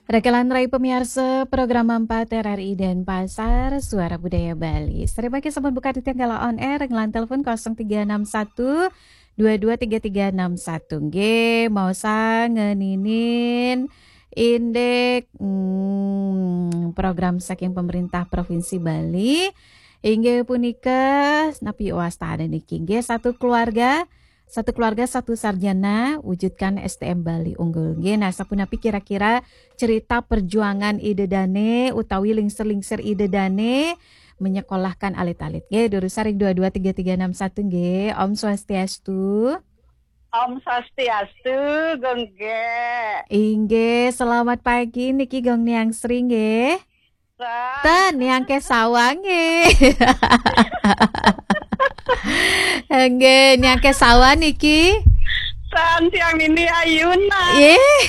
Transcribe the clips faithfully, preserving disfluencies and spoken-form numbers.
Rekelan rai pemiarsa program empat R R I Denpasar, Suara Budaya Bali. Sareng mangkin sampun buka titiang galah on air, ngelan telepon kosong tiga enam satu dua dua tiga tiga enam satu. Nggih, maosan ngeninin indik, hmm, program saking pemerintah Provinsi Bali. Inggih punika, napi wastane niki? Nggih, satu keluarga, satu keluarga, satu sarjana, wujudkan S D M Bali unggul. Nggih, nah, sapunapi kira-kira cerita perjuangan Ida Dane utawi lingsir-lingsir Ida Dane menyekolahkan alit-alit? Nggih, durus ring dua dua tiga tiga enam satu nggih. Om Swastiastu. Om Swastiastu, Gung Gek. Inggih, selamat pagi niki Gung Niang Sri nggih. Ten, Niang Kesawa nggih. Nggih, Niang Kesawa niki. Ten, tiang nini ayunan. Nggih.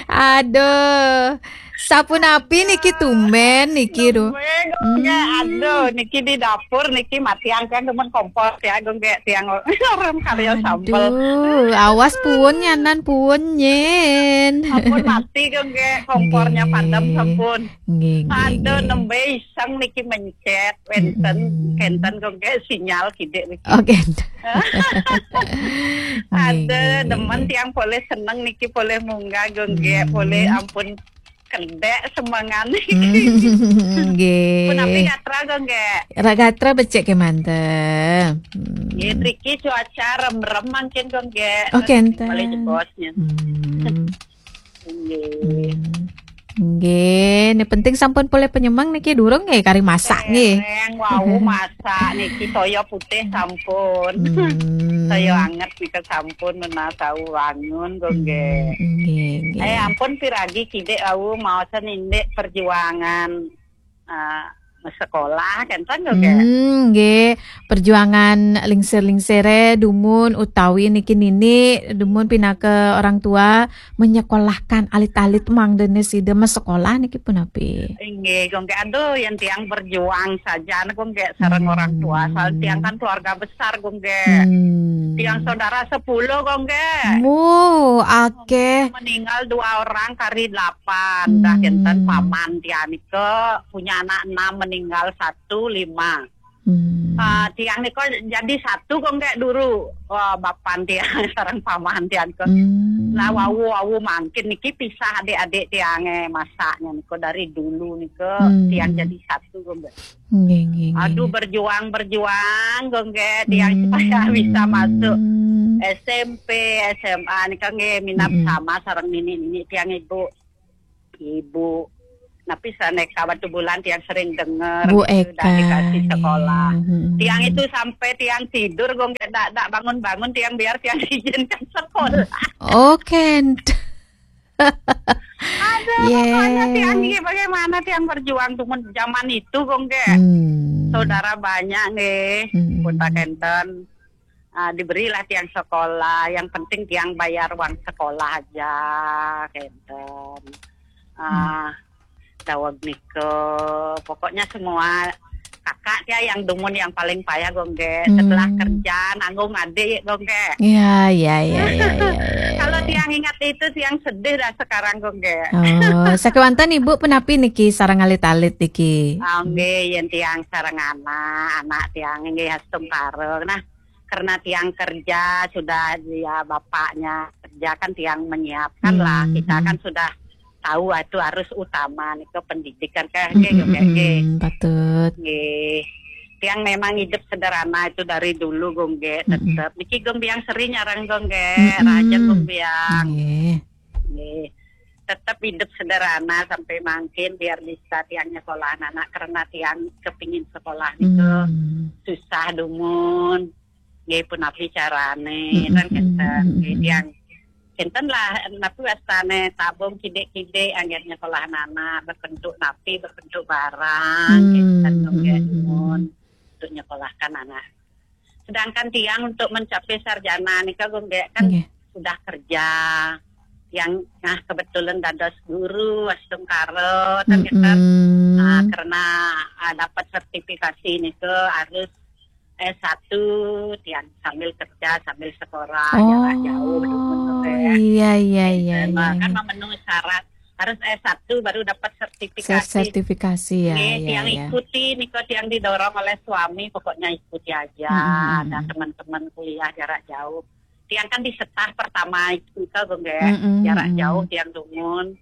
Aduh, sapunapi niki tumben niki, duh. Nggih, Gung Gek. Hmm. Aduh, niki di dapur niki matiang kan demen kompor ya, Gung Gek, tiang orang karya sambel. Aduh, awas puun nyanan puun nyen. Sampun mati, Gung Gek, kompornya padam sampun. Nggih, nggih, nggih. Aduh, nembe iseng niki mencet, wenten, kenten, Gung Gek, sinyal kidik niki. Oh, kenten. Aduh, nggih, nggih, demen nggih. Tiang polih seneng niki, polih munggah, Gung Gek, polih ampun kedek semengan. Hmm, nggih. Punapi gatra, Gung Gek? Ra gatra becik kemanten. Hmm. Nggih, mriki cuaca rem-rem mangkin, Gung Gek. Oh, kenten. Balik jebosnya. Hmm. Nggih. Hmm. Nggih, ne penting sampun polih penyemeng niki durung nggih kari masak nggih. Dereng wau masak niki toya putih sampun. Hmm. Toya anget nika sampun menawi wau wangun, Gung Gek. Hmm, nggih, nggih. Eh, ampun piragi kidik wau maosan indik perjuangan, eh, sekolah kenten, Gung Gek. Hmm, nggih. Perjuangan lingsir-lingsire dumun utawi niki nini dumun pinaka orang tua menyekolahkan alit-alit mangdene sida masekolah niki punapi? Inggih, Gung Gek. Aduh, yen tiang berjuang saja, Gung Gek, sareng orang tua. Soal tiang kan keluarga besar, Gung Gek. Hmm. Tiang saudara sepuluh, Gung Gek. Mu, akeh. Meninggal dua orang, kari delapan. Dah, hmm, kenten paman tiang nika punya anak enam, meninggal satu, lima. Hmm. Ah, tiang nika jadi satu, Gung Gek, dulu. Wah, bapan tiang sareng paman tiang nika. Hmm. Lah, wau-wau mangkin niki pisah adik-adik tiange masaknya nika dari dulu nika. Hmm. Tiang jadi satu, Gung Gek. Nggih, nggih, nggih. Aduh, berjuang, berjuang, Gung Gek, tiang supaya bisa masuk S M P, S M A nika nggih minab sama sareng nini-nini tiang ibu. Ibu. Tapi saneka Batubulan tiang sering dengar Bu gitu, Eka, dah dikasih sekolah. Nggih. Hmm. Tiang itu sampai tiang tidur, Gung Gek, dak, dak bangun-bangun tiang biar tiang diizinkan sekolah. Oh, kenten. Aduh, pokoknya tiang ini bagaimana tiang berjuang tuh men-, zaman itu, Gung Gek. Hmm. Saudara banyak nggih, hmm, kota kenten. Ah, diberilah tiang sekolah, yang penting tiang bayar uang sekolah aja, kenten. Ah, daweg nika, pokoknya semua kakak ya yang dumun yang paling payah, Gung Gek. Hmm. Setelah kerja, nanggung adik, Gung Gek. Iya, iya, iya, iya, iya, iya. Kalau tiang ingat itu, tiang sedih dah sekarang, Gung Gek. Oh, sakewanten Ibu punapi niki sareng alit-alit niki? Ah, nggih, yen tiang sareng anak, anak tiang nggih astungkara. Nah, karena tiang kerja, sudah dia bapaknya kerja kan tiang menyiapkan lah. Hmm, kita kan sudah tahu itu harus utama nika pendidikan kan, nggih, nggih, nggih. Mm-mm, patut. Nggih. Tiang memang hidup sederhana itu dari dulu, Gung Gek, tetep. Niki Gung Biang sering nyarang, Gung Gek, mm-mm, rajin Gung Biang. Nggih. Nggih. Tetep hidup sederhana sampai mangkin biar bisa tiang nyekolah anak karena tiang kepingin sekolah niku susah dumun. Nggih, punapi carane, kan kenten. Nggih, tiang kenten lah, napi wastane tabung kidik-kidik anggen nyekolah anak, berbentuk napi, berbentuk barang, kenten, nggih, dumun untuk nyekolahkan anak. Sedangkan tiang untuk mencapai sarjana nika, Gung Gek, kan sudah kerja. Yang, nah, kebetulan dados guru, astungkara, kan kenten. Nah, karena, ah, dapat sertifikasi nika harus S satu, tiang sambil kerja, sambil sekolah, jarak jauh, dumun, Oh, gitu ya. Iya, iya, iya, Nah, iya, kan iya. memenuhi syarat. Harus S satu baru dapat sertifikasi. Sertifikasi, ya, Nggih, ya, tiang ya. ikuti, nika tiang didorong oleh suami, pokoknya ikuti aja. Mm-mm. Ada teman-teman kuliah jarak jauh. Tiang kan di setar pertama itu, nika, Bu, nggih. Mm-mm, Jarak mm-mm. jauh tiang dumun.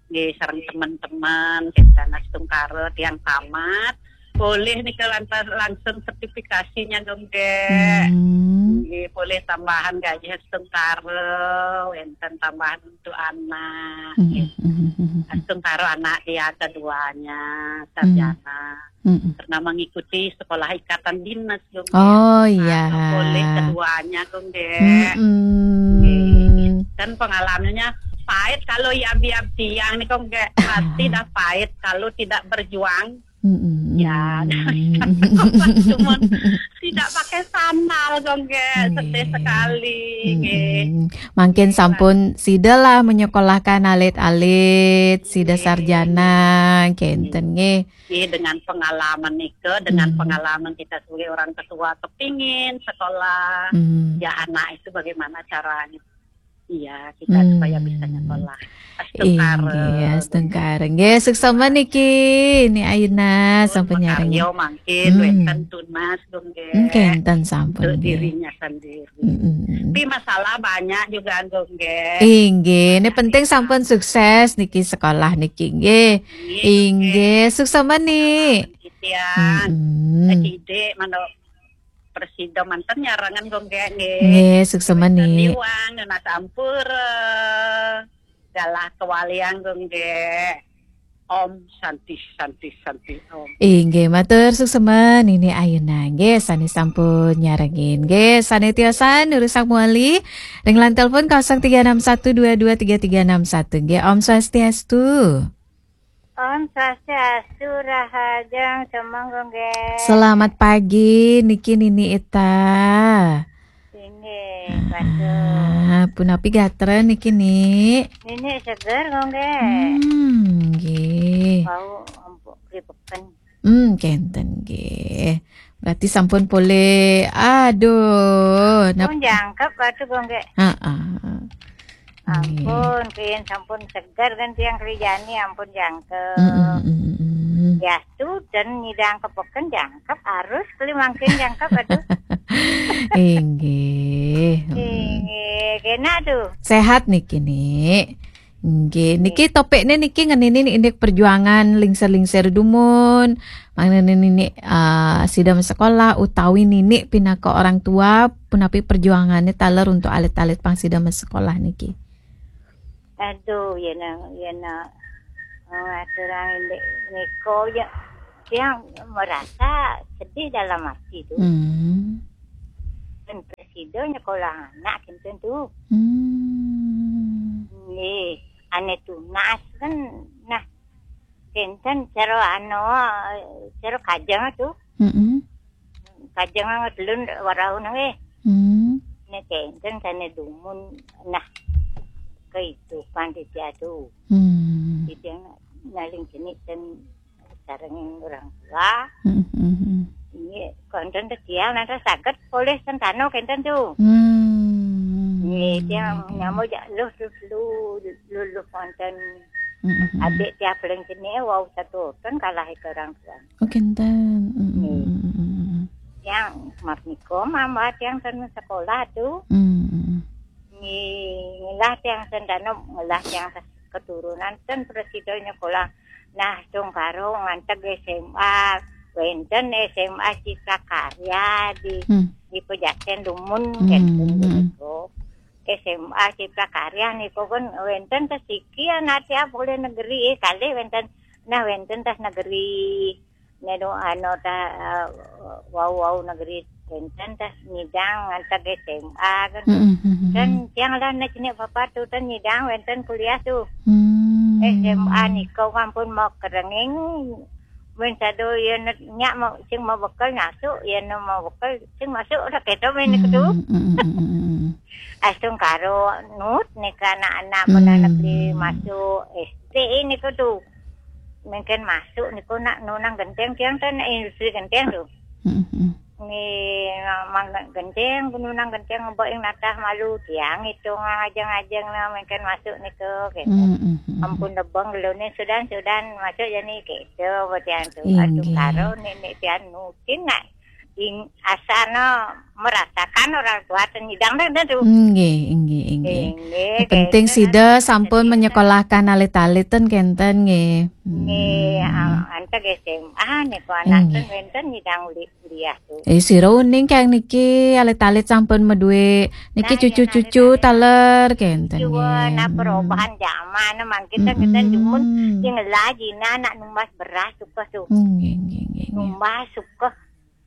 Nggih, sareng teman-teman, kita astungkara tiang tamat. Boleh nika lantas langsung sertifikasinya, Bu, nggih. Hmm. Nggih, boleh tambahan gaji astungkara, wenten tambahan untuk anak. Hmm, Nggih. hmm, hmm, hmm, hmm. Astungkara anak dia keduanya, Hmm. sarjana. Hmm, hmm. Karena mengikuti sekolah ikatan dinas, Bu, nggih. Oh, Nah, iya. boleh keduanya, Bu, nggih. Hmm, hmm. Nggih. Dan pengalamannya pahit kalau ya biar tiang nih, Bu, nggih. Pasti dah pahit kalau tidak berjuang. Hmm, hmm, Ya, hmm. cuman tidak pakai sandal, Bu, nggih. Sedih Nggih. sekali, Hmm, nggih. hmm. Mangkin Nggih, sampun sida lah menyekolahkan alit-alit, sida Nggih. sarjana, kenten nggih. Nggih, dengan pengalaman nika, dengan Hmm. pengalaman kita sebagai orang ketua, kepingin sekolah, Hmm. ya anak itu bagaimana caranya? Iya, kita Hmm. supaya bisa nyekolah. Astungkara. Inggih, astungkara. Nggih, suksma niki, Ni Ayeuna Pun sampun nyarengin. makarya mangkin Hmm. wenten tunas, Bu, nggih. Hmm, kenten sampun, Untuk nggih. dirinya sendiri. Mm-mm. Tapi masalah banyak juga, Bu, nggih. Inggih, ini Banyak penting juga. sampun sukses niki sekolah niki, nggih. Nggih, Bu, nggih. Inggih, suksma, Ni. Salam, Ni, tiang. Mm-mm. Sedidik, mantuk prasida manten nyarengan, Bu, nggih, nggih. Nggih, suksma, Wenten Ni. Iwang, nunas ampura. Galah kawaliang, Bu, nggih. Om Santi, Santi, Santi, Om. Inggih, matur suksma Nini Ayeuna. Nggih, sane sampun nyarengin. Nggih, sane tiosan nurusak muali. Ring line telepon kosong tiga enam satu dua dua tiga tiga enam satu. Nggih, Om Swastiastu. Om Swastiastu, rahajeng semeng, Bu, nggih. Selamat pagi, niki Nini Ita. Inggih, Ah, punapi gatra niki, Ni? Nini seger, Bu, nggih. Hmm, nggih. Bau empuk kripeken. Hmm, kenten, nggih. Berarti sampun polih, aduh, nap- Pun jangkep, waduh, Bu, nggih. Heeh. Nggih. Ampun, kin sampun seger kan tiang kerjani, ampun jangkep. Mm, mm, mm, mm, mm. Ya, tu dan nyidang kepeken jangkep, harus keli mangkin jangkep, aduh. Inggih. Mm. Inggih, kena tuh. Sehat niki, Ni. Nggih, Nggih. niki topikne niki ngenini indik perjuangan lingsir-lingsir dumun. Mangkene Nini, eh, sida sekolah utawi Nini pinaka orang tua, punapi perjuangane taler untuk alit-alit pang sida sekolah niki? Aduh, yen, yen, eh, ngaturang indik nika, ya, tiang merasa sedih dalam hati tuh. Hmm. Dan prasida nyekolah anak kinten tuh. Hmm. Nggih, ane tunas kan, nah, kinten cara anu, cara kajeng tuh. Mm-mm. Kajeng ngedelun warau nang, eh. Hmm. Nek kinten sane dumun, nah, kehidupan dia tuh. Hmm. Dia naling jenik dan sareng orang tua. Hmm, hmm, hmm. Ini konten teh dia nanti saged polih sentano kinten tuh. Hmm. Nggih, dia Nggih, nggih. nyamuk jak luh, luh, luh, luh, luh konten. Hmm, hmm, hmm. Adik dia paling jenik wau satu ton kalah ke orang tua. Oh, kinten. Hmm, hmm, Nggih. hmm, hmm, hmm, hmm. Yang map niko mama tiang ten sekolah tuh. Hmm, hmm, hmm. Ngi-, ngilah tiang sentano, ngilah tiang ses-, keturunan ten prasida nyekolah. Nah, tungkaro nganteg S M A, wenten S M A Cipta Karya di, Hmm. di Pejaten Dumun, Hmm, wenten hmm. begitu. S M A Cipta Karya niku kan wenten tes iki anak tiap oleh negeri, eh, kalih wenten, nah, wenten tes negeri. Nenu anu ta, eh, wau-wau negeri wenten tes nyidang nganteg S M A kan. Mm-mm, mm-mm. Dan tiang lah nek jenik bapak tu ten nyidang wenten kuliah tu. Hmm. S M A niku ampun mau kerenging. Men sado yen nyak mau, sing mau bekel masuk, yen mau bekel sing masuk, ora keto men niku tu. Mm-mm, mm-mm, mm-mm. Astungkara nut nika anak-anak pun anak beli Hmm. masuk S D niku tu. Mungkin masuk niku nak nunang genteng tiang ten industri genteng tu. Mm-mm. Ni mang genceng, gununang genceng ngebek ing natah malu tiang itu ngajeng-ajeng na mengken masuk nitu gitu. Mm, mm, mm. Ampun lebeng gelone sudan-sudan masuk jani gitu buat tiang tu. Aduh Inggih. Karo nenek tiang nutin nak ing asana merasakan orang tua ten nyidang deh tu. Inggih, inggih, inggih. Inggih, Penting gitu, sida kan. Sampun Jadi, menyekolahkan alit-alit ten kenten nggih. Nggih, Hmm. ah, antek S M A nih kok anak Inggih. ten wenten nyidang uli kuliah tu. Eh, sira uning kang niki alit-alit sampun meduwe niki Nah, cucu-cucu iya, nah, taler kenten Cuba nggih. nah Hmm. Perubahan zaman mangkin ten kita jumun Mm-mm. sing ngelah jina nak numbas beras suka tu. Nggih, nggih, nggih, nggih. Numbas suka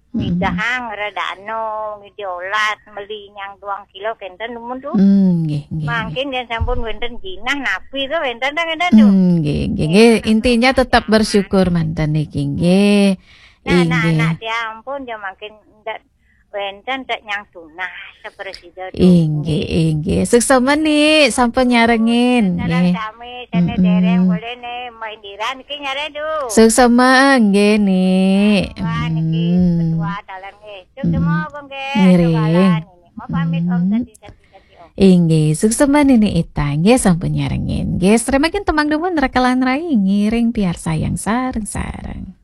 Mm-mm. midahang redano ngidi olat meli nyang duang kilo kenten numun tu. Hmm, nggih, nggih, nggih. Mangkin yen sampun wenten jinah napi tu wenten ten ngenten tu. Hmm, nggih, nggih, nggih. Intinya tetap bersyukur manten niki nggih. Nah, nah, Inggih. nah, dia ampun dia mangkin ndak wenten tak nyang tunas sepresida tu. Inggih, inggih. Suksma nih sampun nyarengin Saran nggih. Sami sana Mm-mm. Dereng boleh nih Mbak Indira niki nyare tu. Suksma nggih nih. Wah niki Hmm. Ketua talan nggih. Cuk Hmm. semua kok nggih. Ngiring. Ketualan ini. Mau pamit Om Hmm. tadi tadi tadi Om. Inggih, suksma Nini Ita nggih sampun nyarengin. Nggih, sremakin tembang dumun rekalan rai ngiring piarsayang sareng-sareng.